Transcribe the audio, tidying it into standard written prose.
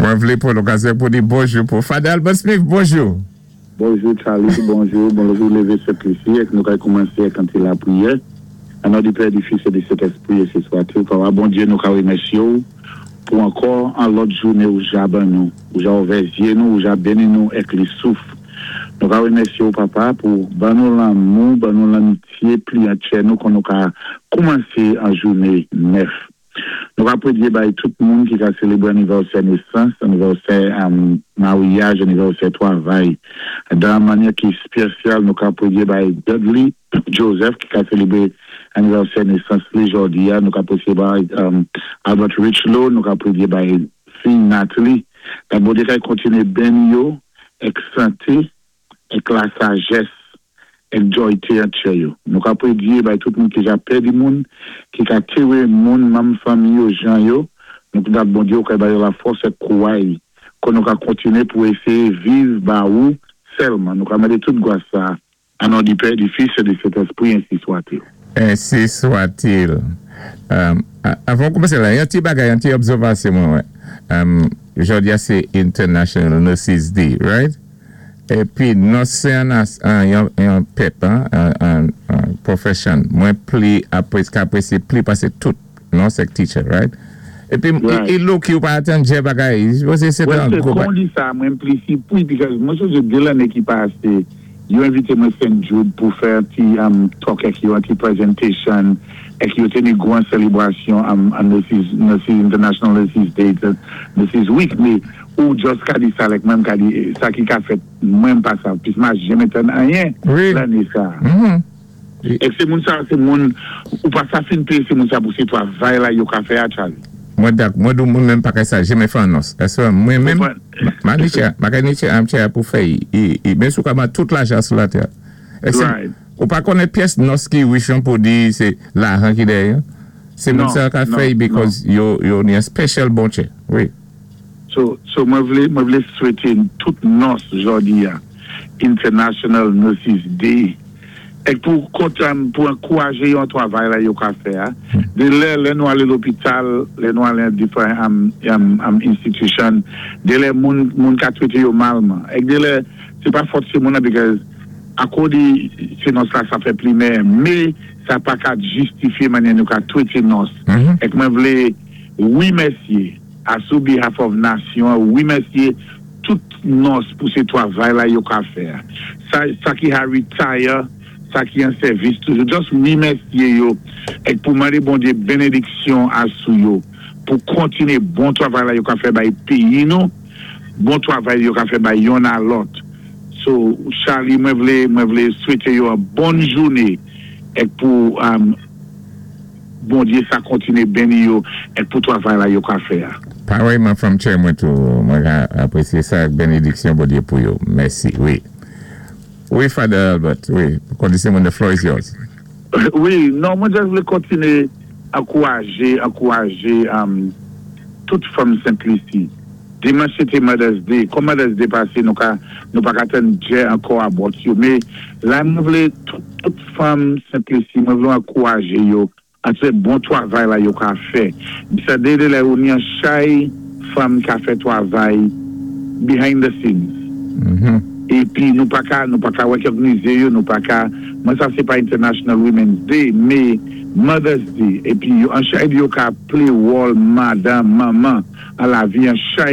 Mwen vlé pwan lokazyon pou di bonjou pou Father Albert Smith, bonjou. Bonjou Charlie, bonjou, bonjou lévé Sent Lisi, èk nou kay koumansé èk an ti lapriyè. An non di Pè, di Fis é di Sentèspri, ensi swatil. Papa Bondyé, nou ka wimèsyé ou pou ankò an lòt jouné ou ja ban nou, ou ja ouvè zyé nou, ou ja béni nou èk li souf. Nou ka wimèsyé ou, Papa, pou ban nou lanmou, ban nou lanmityé pli an tchè nou kon nou ka koumansé an jouné nèf. Nou ka pwédyé bay tout moun ki ka sélébré anivèsè nésans, anivèsè maryaj, anivèsè twavay. Dan mannyè ki spésyal, nou ka pwédyé bay Dudley Joseph ki ka sélébré anivèsè nésans li jòdi a, nou ka pwédyé bay Albert Richlow, nou ka pwédyé bay fi Natalie. Dat Bondyé kay kontiné béni yo èk santé, èk la sajès, èk djòyté an tchè yo. Nou ka pwédyé bay tout moun ki ja pèdi moun, ki ka téré moun manm fanmi yo jan yo, nou dat Bondyé ou kay ba yo la fòs èk kouway kon nou ka kontiné pou éséyé viv ba ou sèlman. Nou ka mandé tout gwas sa an non di Pè, di Fis é di Sentèspri, ensi swatil. Ensi swatil. Avan koumansé la, yon ti bagay, yon ti obsèvasyon mwen wè. Jòdi a sé International Nurses Day, right? Épi nòs sé an yon pèp, an profession, mwen pli ka apresyé pli pasé tout nòs èk teacher, right? Épi i look ou pa atan djè bagay, se se Well, se kon di sa, mwen pli si pou, because mwen sonjé dé lanné ki pasé, yo envité mwen St. Jude pou fè an ti talk èk yo, an ti presentation, èk yo téni gwan sélébrasyon an Nurses, International Nurses Day, Nurses Week, mé ou just ka di sa lèk mwen ka di, sa ki ka fèt mwen pa sa, pis ma jèmé tann anyen lanné sa. Èk sé moun sa, sé moun, ou pa sa fin péyé sé moun sa pou sé twavay la yo ka fè a, Charlie. Mwen dak, mwen dou mwen menm pa kay sa jèmé fè an nòs. Èsè mwen menm, ma ni chè, ma kay ni chè am chè pou fè i, men sou ka man tout lajan sou latè. Èk sé, ou pa konnen pyès nòs ki rich an pou di sé lajan ki dèyè. Sé moun sa ka fè because yo ni an special bon chè. Wi. So mwen vlé swété tout nòs jòdi a International Nurses Day èk pou kontan pou ankouwajé yo an twavay la yo ka fè a. Dé lè nou alé lopital, lè nou alé an different institution, dé lè moun ka twété yo malman. Èk dé lè, sé pa fòt sé moun an because akòdi sé nòs la sa fè plimè, mé sa pa ka jistifié mannyè nou ka twété nòs. Èk mwen vlé wimèsyé asou behalf of nasyon, wimèsyé tout nòs pou sé twavay la yo ka fè. Sa ki ha retire, sa ki an sèvis toujou, just wimèsyé yo, èk pou mandé Bondyé bénédiksyon asou yo, pou kontiné bon twavay la yo ka fè bay péyi nou, bon twavay yo ka fè bay yonn a lòt. So, Charlie, mwen vlé swété yo an bon jouné, èk pou Bondyé sa kontiné béni yo, èk pou twavay la yo ka fè a. Parèyman fanm tchè mwen tou, mwen ka apresyé sa bénédiksyon Bondyé pou yo. Mèsi, wi. Wi, Father Albert, wi. Kondisyon mwen, the floor is yours. Wi, non, mwen just vlé kontiné ankouwajé tout fanm Sent Lisi. Dimanch sé té Mother's Day. Kon Mother's Day pasé, nou pa ka tann djè ankò a bòt yo. Mé la mwen vlé tout fanm Sent Lisi, mwen vlé ankouwajé yo antré bon twavay la yo ka fè. Sa dé lè ou ni an chay fanm ka fè twavay behind the scenes. Épi nou pa ka wékògnizé yo, nou pa ka, mwen sa sé pa International Women's Day, mé Mother's Day, épi yo an chay yo ka play role madan, manman, an lavi an chay.